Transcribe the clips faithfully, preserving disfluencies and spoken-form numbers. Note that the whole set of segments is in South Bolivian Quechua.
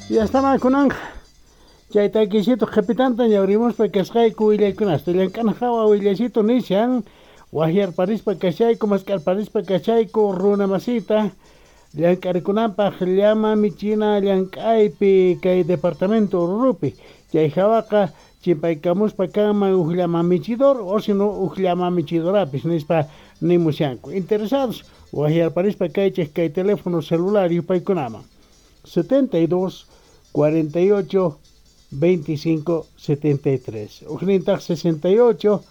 Ya kunanqa chay takisito qhipitanta ñawrimuspa kasqayku willaykunasta llank'ana hawa willaycito nishan wahyarparispa kashayku mask'arparispa kashayku runa masita llank'arikunanpaq llama michina llank'aypi kay departamento Orurupi chay hawaqa chimpaykamuspa kanman huk llama michidor o sino huk llama michidorapis nispa nimushanku interesados wahyarparispa kaychik kay teléfono celular yupaykunaman setenta y dos cuarenta y ocho veinticinco setenta y tres ujnintaq sesenta y ocho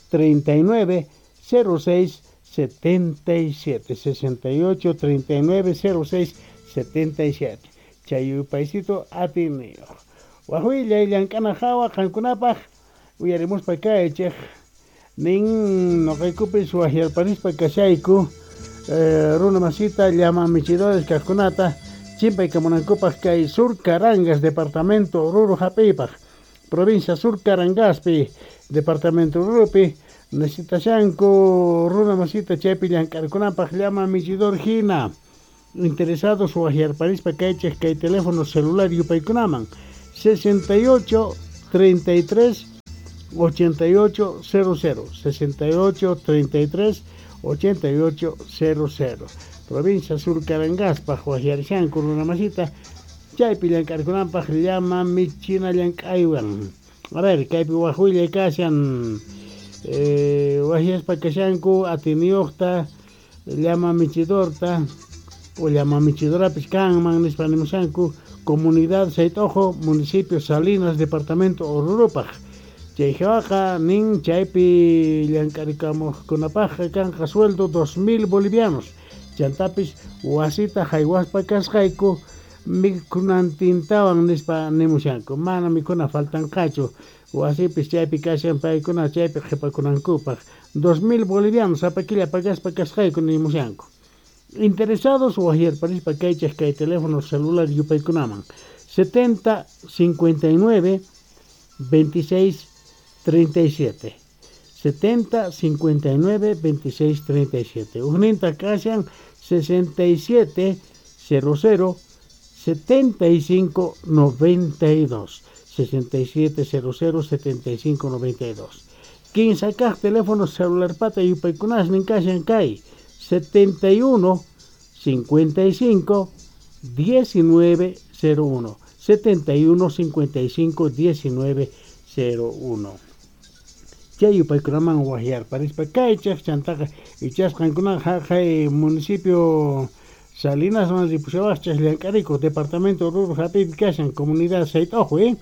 treinta y nueve cero seis setenta y siete sesenta y ocho treinta y nueve cero seis setenta y siete chay yupaycito atiniyuq wajwillay llank'ana hawa qankunapaq uyarimuspa kaychik nin noqaykupis wahyarparispa kashayku eh, runa masita llama michidores kaqkunata chimpaykamunankupaq kay Sur Carangas departamento Oruro hap'iypaq provincia Sur Carangaspi departamento Orurupi necesitashanku runa masita chaypi llank'arkunanpaq llama michidor hina interesados wahyarparispa kaychik kay teléfono celular yupaykunaman sesenta y ocho treinta y tres ochenta y ocho cero cero sesenta y ocho treinta y tres ochenta y ocho cero cero provincia Sur Carangaspaq wahyarishanku runa masita chaypi llank'arkunanpaq llama michina llank'aywan a ver kaypi waj willay kashan eh, wahyaspa kashanku atiniyuqta llama michidorta o llama michidorapis kanman nispa nimushanku comunidad Saytojo municipio Salinas departamento Orurupaq chay hawaqa nin chaypi llank'arikamuqkunapaqqa kanqa sueldo dos mil bolivianos chantapis wasita haywaspa kasqayku mikhunantintawan nispa nimushanku mana mikhuna faltanqachu wasipis chaypi kashan paykuna chaypi qhipakunankupaq dos mil bolivianos sapa killa pagaspa kasqayku nimushanku interesados wahyarparispa kaychik kay teléfono celular yupaykunaman setenta cincuenta y nueve veintiséis treinta y siete setenta cincuenta y nueve veintiséis treinta y siete ujninta kashan sesenta y siete cero cero setenta y cinco noventa y dos sesenta y siete cero cero setenta y cinco noventa y dos kinsa kaq teléfono celular pata yupaykunasnin kashan kay setenta y uno cincuenta y cinco diecinueve cero uno setenta y uno cincuenta y cinco diecinueve cero uno chay yupaykunaman wahyarparispa kaychik chantaqa ichasqankuna haqay municipio Salinasman ripushawaqchik llank'arikuq departamento Oruro hap'iypi kashan comunidad Sayt'uju eh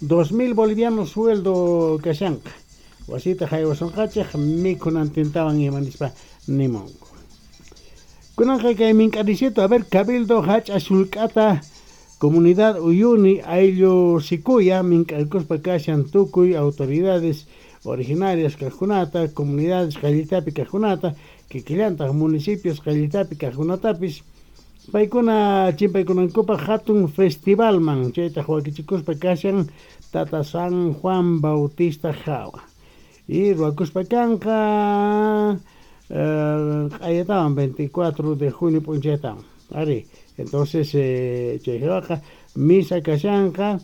dos mil bolivianos sueldo kashanqa wasita haywasunqachik mikhunantintawan ima nispa nimunku kunanqa kay mink'arisito a ver cabildo hach'a sullk'ata comunidad Uyuni ayllu Sikuya mink'arkuspa kashan tukuy autoridades originarias kaqkunata comunidades qallitapi kaqkunata kikillantaq municipios qallitapi kaqkunatapis paykuna chimpaykunankupaq hatun festivalman chaytaq wakichikuspa kashan Tata San Juan Bautista hawa y ruwakuspa kanqa q'ayatawan veinticuatro de junio p'unchaytawan ari entonces eh, chay hawaqa misa kashanqa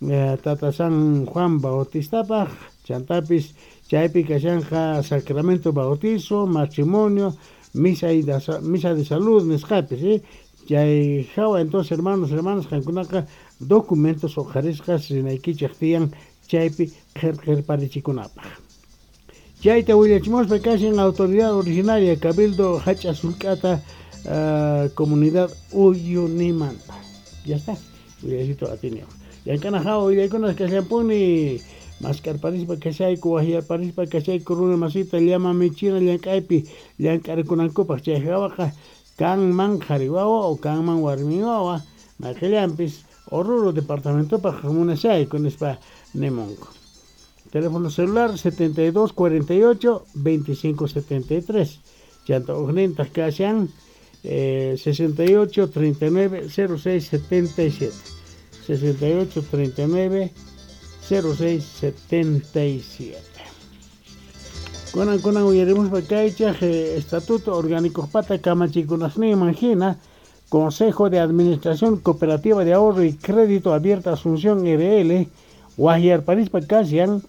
eh, Tata San Juan Bautistapaq chantapis chaypi kashanqa sacramento bautizo matrimonio misa y da, misa de salud nisqapis eh? Chay hawa entonces hermanos hermanas qankunaqa documentos uqharisqas rinaykichik tiyan chaypi qhirqhirparichikunapaq chayta willachimuspa kashan autoridad originaria cabildo hach'a sullk'ata uh, comunidad Uyunimanta ya está willaycito atiniyuq llank'ana hawa willaykunas kashanpuni mask'arparispa kashayku wahyarparispa kashayku runa masita llama michina llank'aypi llank'arikunankupaq chay hawaqa kanman qhari wawa o kanman warmi wawa mayqillanpis Oruro departamentopaq munashayku nispa nimunku teléfono celular setenta y dos cuarenta y ocho veinticinco setenta y tres chanta ujnintaq kashan eh, sesenta y ocho treinta y nueve cero seis setenta y siete sesenta y ocho treinta y nueve cero seis setenta y siete kunan kunan uyarimuspa kaychaq eh, estatuto orgánico pata kamachikunasninman hina Consejo de Administración Cooperativa de Ahorro y Crédito Abierta Asunción R L, wajyarparispa kashan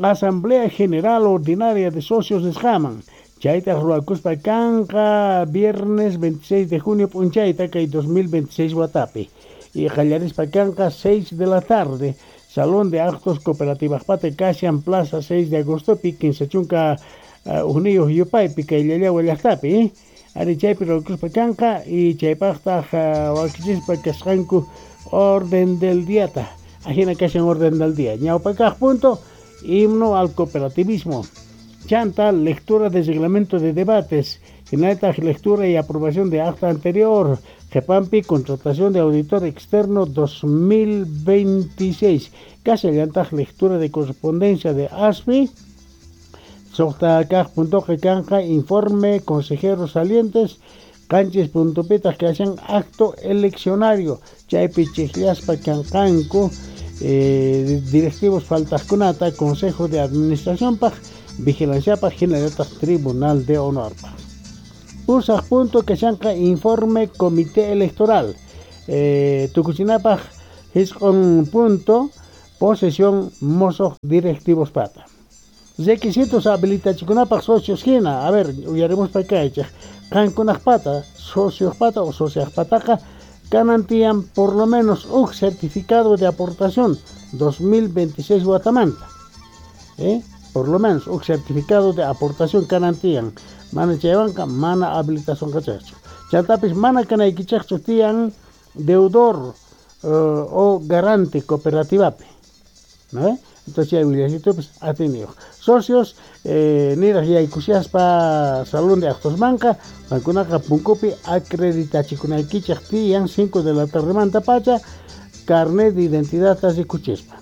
Asamblea General Ordinaria de Socios nisqaman. Chaytaq ruwakuspa kanqa viernes veintiséis de junio p'unchayta kay dos mil veintiséis watapi. Y qallarispa kanqa seis de la tarde, Salón de Actos Cooperativajpata kashan Plaza seis de agostopi, kinsa chunka ujniyuq yupaypi kay Llallagua llaqtapi. Ari chaypi ruwakuspa kanqa y chaypaqtaq wakichispa kasqanku orden del diata. Ajina kashan orden del día. Ñawpa kaq punto, himno al cooperativismo. Chanta, lectura de reglamento de debates. Hinallataq lectura y aprobación de acta anterior. Qhipampi, contratación de auditor externo dos mil veintiséis. Kashallataq lectura de correspondencia de A S F I. Suqta kaq puntoqa kanqa informe consejeros salientes. Qanchis puntopitaq kashan acto eleccionario. Chaypi chiqllaspa kanqanku, eh, directivos faltaqkunata, consejo de administración paj, vigilancia paj, hinallataq tribunal de honor paj. Pusaq punto kashanqa informe comité electoral. Eh, tukuchinapaj hisq'un punto posesión mosoj directivos pata. Requisitos habilitachikunapaj socios hina. A ver, uyarimuspa kaychej. Qankunaj pata, socios pata o socias pataqa kanan tiyan por lo menos un certificado de aportación dos mil veintiséis watamanta. ¿Eh? Por lo menos un certificado de aportación kanan tiyan. Mana chaywanqa mana habilitación kachachu. Chantapis mana kanaykichejchu tiyan deudor, uh, o garante cooperativapi. ¿No? Entonces chay willasitupis atiniyuq. Socios, eh, niraj yaykushaspa salón de actos manqa, qankunaqa punkupi acreditachikunaykichej tiyan cinco de la tardemanta pacha carnet de identidad rikuchispa.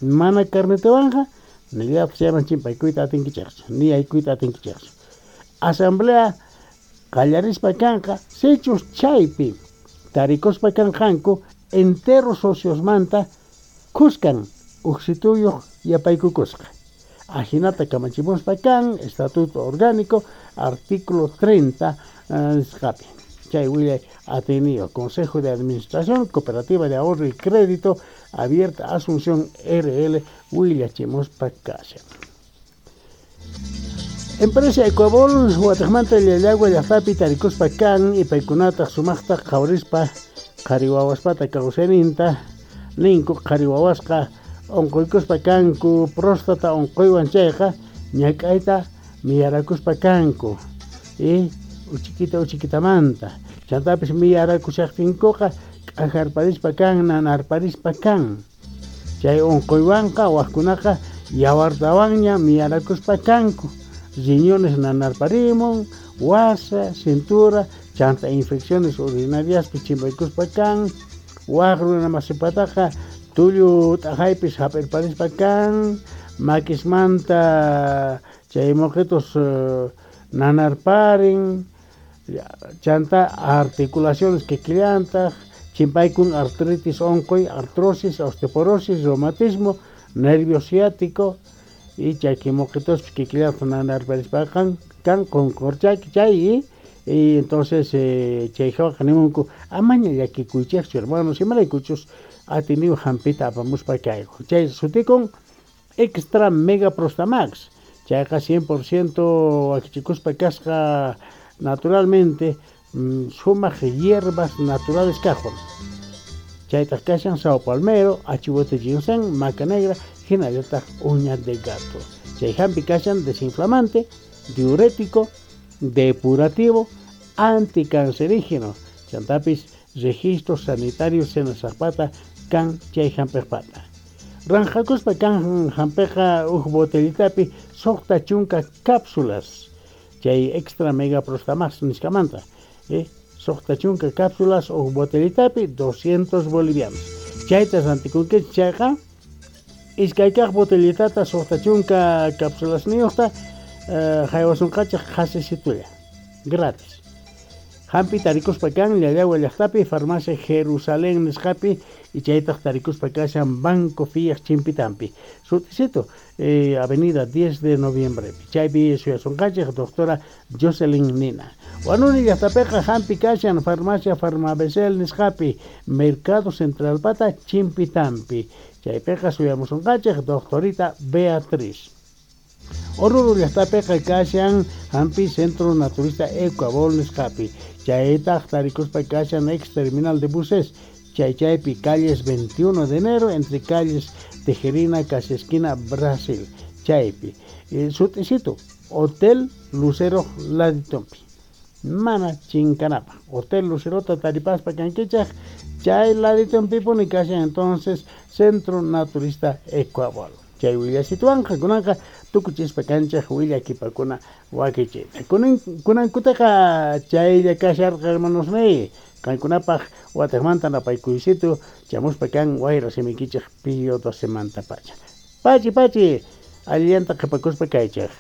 Mana carnetewanja, nillapis chayman chimpaykuyta atinkichejchu, ni yaykuyta atinkichejchu. Asamblea qallarispa kanqa, sichus chaypi tarikuspa kanqanku entero sociosmanta khuskan uqsituyuq yapaykukusqa. Ajinata kamachimuspa kan Estatuto Orgánico, artículo treinta nisqapi. Chay willay ateneo, Consejo de Administración, Cooperativa de Ahorro y Crédito, Abierta Asunción R L, willachimuspa kashan. Empresa Ecuabol, wataqmanta Llallagua llaqtapi tarikuspa kan, ipaykunataq sumaqta qhawrispa qhari wawaspata kawsayninta, ninku qhari wawasqa unquykuspa kanku, próstata unquywan chayqa ñak'ayta miyarakuspa kanku, y uchikita uchikitamanta. Chantapis miyarakushaqtinkuqa k'ajarparispa kan, nanarparispa kan. Chay unquywanqa wajkunaqa yawartawanña miyarakuspa kanku. Riñones nanarparimun, wasa, cintura, chanta infecciones urinariaspi chimpaykuspa kan, waj runa masipataqa tullu t'ajaypis hap'irparispa kan, makismanta chay moqitos, eh, nanarparin, chanta articulaciones kikillantaq, chimpaykun artritis unquy, artrosis, osteoporosis, reumatismo, nervio ciático, y chaki moqitospis kikillantaq nanarparispa kan, kan qunqurchaki chay, y, y entonces, eh, chay hawaqa nimunku amaña llakikuychejchu hermanos, imaraykuchus atiniw hampita apamuspa kayku. Chay sutikun Extra Mega Prostamax. Chayqa cien por ciento wakichikuspa kasqa naturalmente, mm, sumaq hierbas naturales kajwan. Chaytaq kashan sao palmero, achihuete ginseng, maca negra, hinallataq uña de gato. Chay hampi kashan desinflamante, diurético, depurativo, anticancerígeno. Chantapis registros sanitarios senasaqpata kan chay hampejpata. Ranjakuspa kan hampeja uj botellitapi suqta chunka cápsulas. Chay extra mega prostamax nisqamanta. Eh, suqta chunka cápsulas uj botellitapi doscientos bolivianos. Chayta rantikunkichik chayqa iskay kaq botellitata suqta chunka cápsulas niyuqta, eh, haywasunqachik qhasisitulla gratis. Hampi tarikuspa kan Llallagua llaqtapi farmacia Jerusalén nisqapi y chaytaq tarikuspa kashan Banco Fiat chimpitampi. Sut'isito eh, Avenida diez de Noviembre. Chaypi suyasunqanchik doctora Jocelyn Nina. Wanuni llaqtapiqa hampi kashan farmacia Farmabesel nisqapi Mercado Central pata chimpitampi. Chaypiqa suyamusunqanchik doctorita Beatriz. Oruro llaqtapiqa kashan hampi Centro Naturista Ecuabol nisqapi. Chaytaq tarikuspa kashan ex terminal de buses. Chay chaypi calles veintiuno de enero entre calles Tejerina casi esquina Brasil. Chaypi. Eh, sut'isito Hotel Lucero laditompi. Mana chinkanapa. Hotel Lucerota taripaspa kankichaj. Chay laditompipuni kashan entonces Centro Naturista Ecuabol. Chay willasituwanqa kunanqa tukuchispa kanchaj willakipakuna wakichiyta. Kunan kunankutaqa chaylla kasharqa hermanosniy. Qankunapaq watejmanta napaykuysitu chamuspa kan wayra simikichej Pío docemantapacha. Pachi pachi allillanta qhipakuspa kaychej.